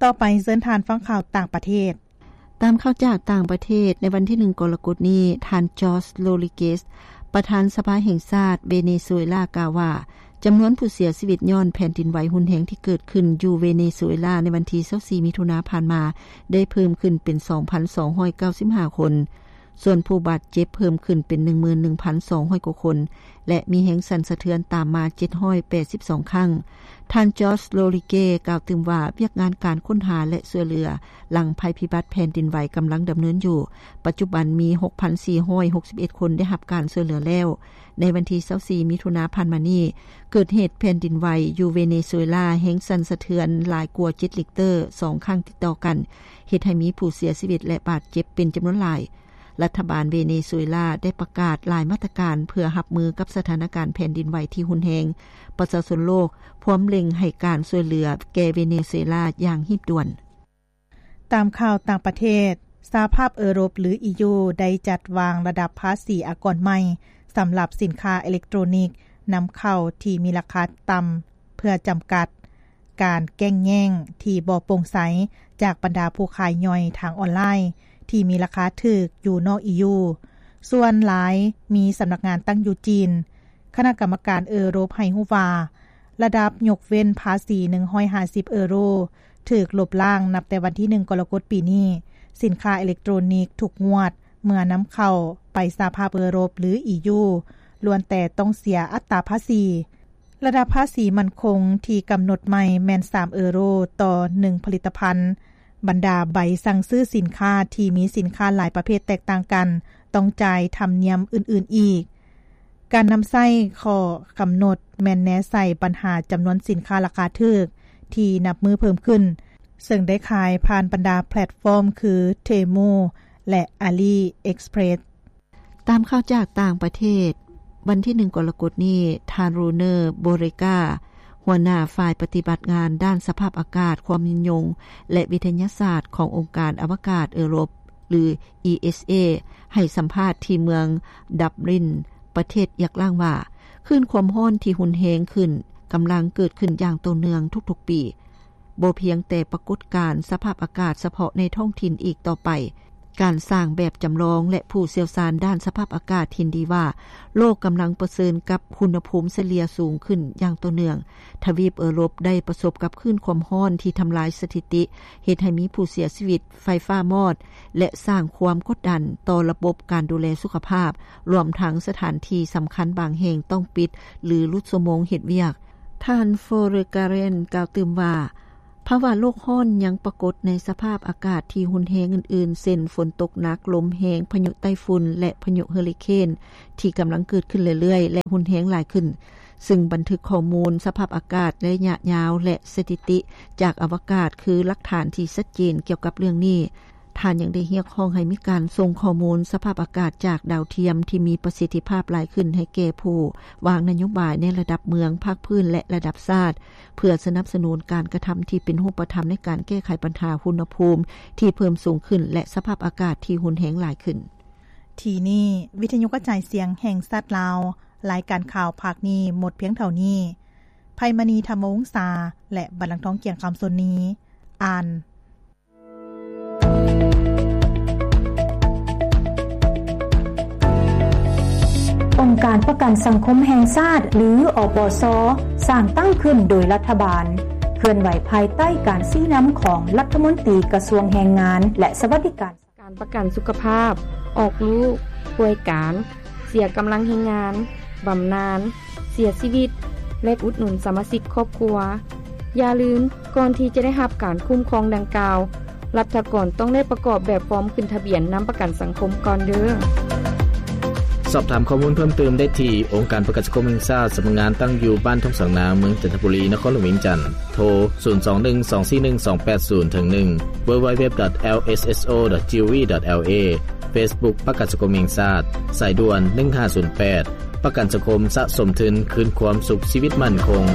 ຕໍ່ໄປເຊີນທ່ານຟັງຂ່າວຕ່າງປະເທດ. ຕາມຂ່າວຈາກຕ່າງປະເທດ, ໃນວັນທີໜຶ່ງ ກໍລະກົດນີ້, ທ່ານ George Rodriguez ປະທານສະພາແຫ່ງຊາດເວເນຊູເອລາ ກ່າວວ່າ ຈຳນວນຜູ້ເສຍຊີວິດຍ້ອນແຜ່ນດິນໄຫວຮຸນແຮງທີ່ເກີດຂຶ້ນຢູ່ເວເນຊູເອລາໃນວັນທີຊາວສີ່ ມິຖຸນາຜ່ານມາ ໄດ້ເພີ່ມຂຶ້ນເປັນ ສອງພັນສອງຮ້ອຍເກົ້າສິບຫ້າຄົນ. ສ່ວນຜູ້ບາດເຈັບເພີ່ມຂຶ້ນເປັນ ໜຶ່ງໝື່ນໜຶ່ງພັນສອງຮ້ອຍກວ່າຄົນ ແລະ ມີແຮງສັ່ນສະເທືອນຕາມມາ ເຈັດຮ້ອຍແປດສິບສອງຄັ້ງ. ທ່ານ George Rodriguez ກ່າວຕື່ມວ່າ ວຽກງານການຄົ້ນຫາ ແລະ ຊ່ວຍເຫຼືອຫຼັງໄພພິບັດແຜ່ນດິນໄຫວກຳລັງດຳເນີນຢູ່. ປັດຈຸບັນມີ ຫົກພັນສີ່ຮ້ອຍຫົກສິບເອັດຄົນໄດ້ຮັບການຊ່ວຍເຫຼືອແລ້ວ. ໃນວັນທີຊາວສີ່ ມິຖຸນາຜ່ານມານີ້, ເກີດເຫດແຜ່ນດິນໄຫວຢູ່ເວເນຊູເອລາ ແຮງສັ່ນສະເທືອນຫຼາຍກວ່າ ເຈັດລິກເຕີ ສອງຄັ້ງຕິດຕໍ່ກັນ, ເຮັດໃຫ້ມີຜູ້ເສຍຊີວິດ ແລະ ບາດເຈັບເປັນຈຳນວນຫຼາຍ. ລັດຖະບານເວເນຊູເອລາໄດ້ປະກາດຫຼາຍມາດຕະການເພື່ອຮັບມືກັບສະຖານະການແຜ່ນດິນໄຫວທີ່ຮຸນແຮງ. ປະຊາຊົນໂລກພວມເລັ່ງໃຫ້ການຊ່ວຍເຫຼືອແກ່ເວເນຊູເອລາຢ່າງຮີບດ່ວນ. ຕາມຂ່າວຕ່າງປະເທດ, ສະຫະພາບເອີຣົບ ຫຼື ອີຢູ ໄດ້ຈັດວາງລະດັບພາສີອາກອນໃໝ່ສຳລັບສິນຄ້າເອເລັກໂຕຣນິກນຳເຂົ້າທີ່ມີລາຄາຕ່ຳ ເພື່ອຈຳກັດການແກ່ງແຍ່ງທີ່ບໍ່ໂປ່ງໃສຈາກບັນດາຜູ້ຂາຍຍ່ອຍທາງອອນລາຍທີ່ມີລາຄາຖືກຢູ່ນອກ ອີຢູ. ສ່ວນຫຼາຍມີສຳນັກງານຕັ້ງຢູ່ຈີນ. ຄະນະກຳມະການເອີຣົບໃຫ້ຮູ້ວ່າ ລະດັບຍົກເວັ້ນພາສີ ໜຶ່ງຮ້ອຍຫ້າສິບເອີໂຣ ຖືກລົບລ້າງນັບແຕ່ວັນທີໜຶ່ງ ກໍລະກົດປີນີ້. ສິນຄ້າເອເລັກໂຕຣນິກທຸກງວດເມື່ອນຳເຂົ້າໄປສະຫະພາບເອີຣົບ ຫຼື ອີຢູ ລ້ວນແຕ່ຕ້ອງເສຍອັດຕາພາສີ. ລະດັບພາສີໝັ້ນຄົງທີ່ກຳນົດໃໝ່ແມ່ນ ສາມເອີໂຣຕໍ່ໜຶ່ງຜະລິດຕະພັນ. ບັນດາໃບສັ່ງຊື້ສິນຄ້າທີ່ມີສິນຄ້າຫຼາຍປະເພດແຕກຕ່າງກັນ ຕ້ອງຈ່າຍທຳນຽມອື່ນໆອີກ. ການນຳໃຊ້ຂໍ້ກຳນົດແມ່ນແນໃສ່ບັນຫາຈຳນວນສິນຄ້າລາຄາຖືກທີ່ນັບມື້ເພີ່ມຂຶ້ນ, ເຊິ່ງໄດ້ຂາຍຜ່ານບັນດາແພລດຟອມຄື Temu ແລະ AliExpress. ຕາມຂ່າວຈາກຕ່າງປະເທດ, ວັນທີໜຶ່ງ ກໍລະກົດນີ້, ທ່ານ Rouner Borega ຫົວໜ້າຝ່າຍປະຕິບັດງານດ້ານສະພາບອາກາດ, ຄວາມຍືນຍົງ ແລະ ວິທະຍາສາດຂອງອົງການອະວະກາດເອີຣົບ ຫຼື ESA ໃຫ້ສຳພາດທີ່ເມືອງ Dublin ປະເທດ Ireland ວ່າ ຄື້ນຄວາມຮ້ອນທີ່ຮຸນແຮງຂຶ້ນກຳລັງເກີດຂຶ້ນຢ່າງຕໍ່ເນື່ອງທຸກໆປີ. ບໍ່ພຽງແຕ່ປາກົດການສະພາບອາກາດສະເພາະໃນທ້ອງຖິ່ນອີກຕໍ່ໄປ, ການສ້າງແບບຈຳລອງ ແລະ ຜູ້ຊ່ຽວຊານດ້ານສະພາບອາກາດເຫັນດີວ່າ ໂລກກຳລັງປະເຊີນກັບອຸນຫະພູມສະເລ່ຍສູງຂຶ້ນຢ່າງຕໍ່ເນື່ອງ. ທະວີບເອີຣົບໄດ້ປະສົບກັບຄື້ນຄວາມຮ້ອນທີ່ທຳລາຍສະຖິຕິ, ເຮັດໃຫ້ມີຜູ້ເສຍຊີວິດ, ໄຟຟ້າມອດ ແລະ ສ້າງຄວາມກົດດັນຕໍ່ລະບົບການດູແລສຸຂະພາບ, ລວມທັງສະຖານທີ່ສຳຄັນບາງແຫ່ງຕ້ອງປິດ ຫຼື ຫຼຸດຊົ່ວໂມງເຮັດວຽກ. ທ່ານ Vergaren ກ່າວຕື່ມວ່າ ພາວະໂລກຮ້ອນຍັງປາກົດໃນສະພາບອາກາດທີ່ຮຸນແຮງອື່ນໆ ເຊັ່ນ ຝົນຕົກໜັກ, ລົມແຮງ, ພາຍຸໄຕ້ຝຸ່ນ ແລະ ພາຍຸເຮີຣິເຄນ ທີ່ກຳລັງເກີດຂຶ້ນເລື້ອຍໆ ແລະ ຮຸນແຮງຫຼາຍຂຶ້ນ, ຊຶ່ງບັນທຶກຂໍ້ມູນສະພາບອາກາດໄລຍະຍາວ ແລະ ສະຖິຕິຈາກອະວະກາດ ຄືຫຼັກຖານທີ່ຊັດເຈນກ່ຽວກັບເລື່ອງນີ້. ທ່ານຍັງໄດ້ຮຽກຮ້ອງໃຫ້ມີການສົ່ງຂໍ້ມູນສະພາບອາກາດຈາກດາວທຽມທີ່ມີປະສິດທິພາບຫຼາຍຂຶ້ນໃຫ້ແກ່ຜູ້ວາງນະໂຍບາຍໃນລະດັບເມືອງ, ພາກພື້ນ ແລະ ລະດັບຊາດ, ເພື່ອສະໜັບສະໜູນການກະທຳທີ່ເປັນຮູບປະທຳໃນການແກ້ໄຂບັນຫາອຸນຫະພູມທີ່ເພີ່ມສູງຂຶ້ນ ແລະ ສະພາບອາກາດທີ່ຮຸນແຮງຫຼາຍຂຶ້ນ. ທີ່ນີ້ ວິທະຍຸກະຈາຍສຽງແຫ່ງຊາດລາວ, ລາຍການຂ່າວພາກນີ້ໝົດພຽງເທົ່ານີ້. ໄພມະນີ ທຳມະວົງສາ ແລະ ບັນລັງທອງ ກຽງຄຳສົນນີ ອ່ານ. ອົງການປະກັນສັງຄົມແຫ່ງຊາດ ຫຼື ອປຊ ສ້າງຕັ້ງຂຶ້ນໂດຍລັດຖະບານ, ເຄື່ອນໄຫວພາຍໃຕ້ການຊີ້ນຳຂອງລັດຖະມົນຕີກະຊວງແຮງງານ ແລະ ສະຫວັດດີການ. ການປະກັນສຸຂະພາບ, ອອກລູກ, ປ່ວຍການ, ເສຍກຳລັງແຮງງານ, ບຳນານ, ເສຍຊີວິດ ແລະ ອຸດໜູນສະມາຊິກຄອບຄົວ. ຢ່າລືມ, ກ່ອນທີ່ຈະໄດ້ຮັບການຄຸ້ມຄອງດັ່ງກ່າວ, ລັດຖະກອນຕ້ອງໄດ້ປະກອບແບບຟອມຂຶ້ນທະບຽນນຳປະກັນສັງຄົມກ່ອນເດີ້. ສອບຖາມຂໍ້ມູນເພີ່ມເຕີມໄດ້ທີ່ ອົງການປະກັນສັງຄົມແຫ່ງຊາດ, ສຳນັກງານຕັ້ງຢູ່ບ້ານທົ່ງສາງນາງ, ເມືອງຈັນທະບູລີ, ນະຄອນຫຼວງວຽງຈັນ. ໂທ ສູນສອງໜຶ່ງ ສອງສີ່ໜຶ່ງ ສອງແປດສູນ ເຖິງໜຶ່ງ www.lsso.gov.la. Facebook ປະກັນສັງຄົມແຫ່ງຊາດ. ສາຍດ່ວນ ໜຶ່ງຫ້າສູນແປດ. ປະກັນສັງຄົມສະສົມທຶນຄືນຄວາມສຸກຊີວິດໝັ້ນຄົງ.